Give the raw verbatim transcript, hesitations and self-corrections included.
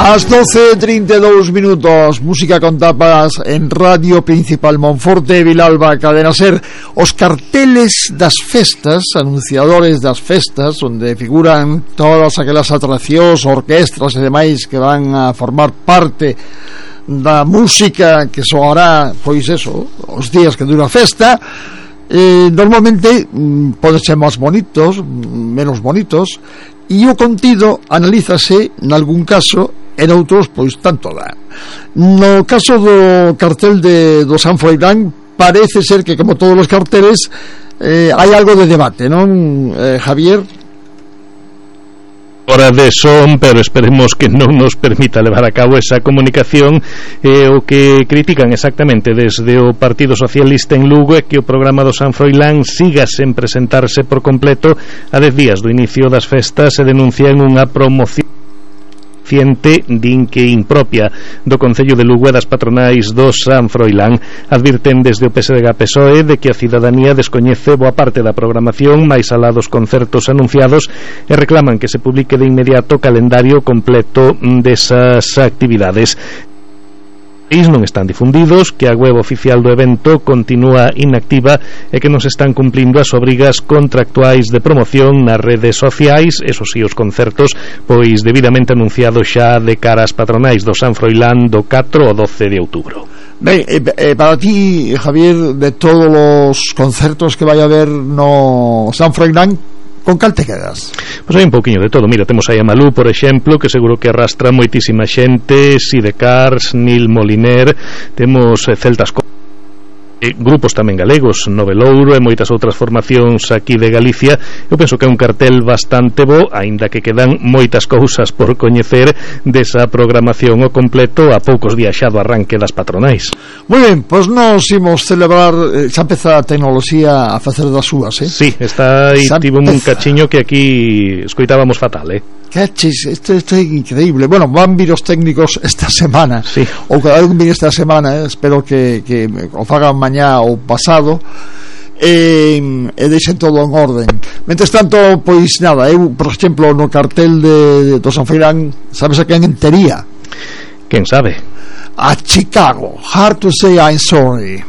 Ás doce e trinta e dous minutos, música con tapas en Radio Principal Monforte, Vilalba, Cadena Ser. Os carteles das festas, anunciadores das festas, onde figuran todas aquelas atraccións, orquestras e demais que van a formar parte da música que soará, pois eso, os días que dura a festa. Eh, normalmente mm, poden ser máis bonitos, menos bonitos, e o contido analízase nalgún caso, en outros pois tanto dá. No caso do cartel de, do San Froilán, parece ser que, como todos os carteles, eh, hai algo de debate, non, eh, Javier? Hora de son, pero esperemos que non nos permita levar a cabo esa comunicación. eh, O que critican exactamente desde o Partido Socialista en Lugo é que o programa do San Froilán siga sen presentarse por completo a dez días do inicio das festas e denuncian unha promoción din que impropia do Concello de Lugo e das patronais do San Froilán. Advirten desde o P S D G P S O E de que a cidadanía descoñece boa parte da programación, máis alá dos concertos anunciados, e reclaman que se publique de inmediato o calendario completo desas actividades. Non están difundidos, que a web oficial do evento continúa inactiva e que non se están cumplindo as obrigas contractuais de promoción nas redes sociais. Eso si, os concertos pois debidamente anunciados xa de cara ás patronais do San Froilán do catro ao doce de outubro. Ben, eh, eh, para ti, Javier, de todos os concertos que vai haber no San Froilán, con cal te quedas? Pois hai un pouquiño de todo. Mira, temos aí a Malú, por exemplo, que seguro que arrastra moitísima xente, Sidecars, Nil Moliner, temos eh, Celtas Co eh, grupos tamén galegos, Novelouro e moitas outras formacións aquí de Galicia. Eu penso que é un cartel bastante bo, aínda que quedan moitas cousas por coñecer desa programación ao completo a poucos días xa do arranque das patronais. Moi ben, pois nos imos celebrar, eh, xa empeza a tecnoloxía a facer das súas, eh? Sí, está aí, tivo un cachiño que aquí escoitábamos fatal, eh? Cachis, isto, isto é increíble. Bueno, van vir os técnicos esta semana, sí. Ou cada vez vir esta semana, eh? Espero que, que o fagan mañá ou pasado, e, e deixen todo en orden. Mentres tanto, pois nada, eu, por exemplo, no cartel de, de do San Froilán, sabes a quen entería? Quen sabe? A Chicago. Hard to say I'm sorry.